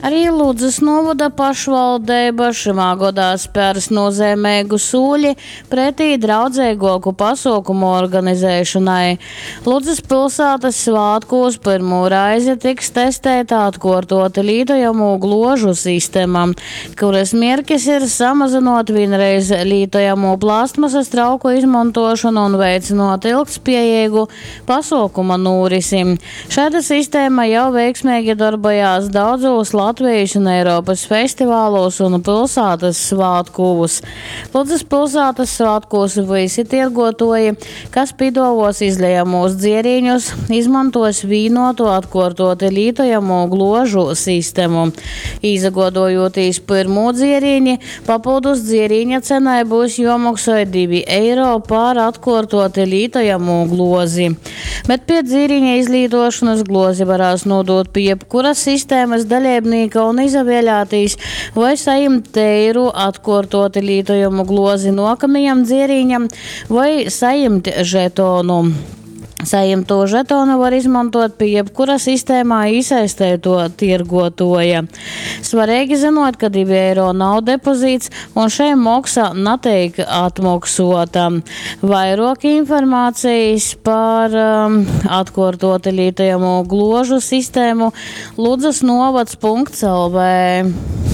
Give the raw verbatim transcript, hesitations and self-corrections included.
Arī Ludzas nūvoda pašvaldeiba šymā godā spērs nūzeimeigu sūli pretī draudzeiguoku pasuokumu organizēšonai. Ludzas pilsātys svātkūs pyrmū reizi tiks testeita atkuortuoti lītojamū gluožu sistema, kurys mierkis ir samazynuot vīnreiz lītojamū plastmasys trauku izmontuošonu un veicynuot ilgtspiejeigu pasuokuma nūrisi. Šaida sistēma jau veiksmeigi dorbojās daudzūs Latvejis un Eiropys festivalūs un pilsātys svātkūs. Ludzas pilsātys svātkūs vysi tierguotuoji, kas pīduovuos izlejamūs dzierīņus, izmontuos vīnuotu atkuortuoti lītojamū gluožu sistemu. Īsaguodojūtīs pyrmū dzierīni, papyldus dzierīņa cenai byus juomoksoj divi eiro par atkuortuoti lītojamū gluozi. Bet piec dzierīņa izlītuošonys gluozi varēs nūdūt pi jebkura sistēmys daleibnīka un izavēlētīs, voi sajimt teiru atkuortuoti lītojamu gluozi nuokamajam dzierīņam, voi sajimt žetonu. Sajimto žetonu var izmontuot pi jebkura sistēmā īsaisteituo tierguotuoja. Svareigi zynuot, ka divi eiro nav depozīts un šei moksa nateik atmoksuota. Vairuok informācijas par um, atkuortuoti lītojamū gluožu sistēmu Ludzas novads punkts L V.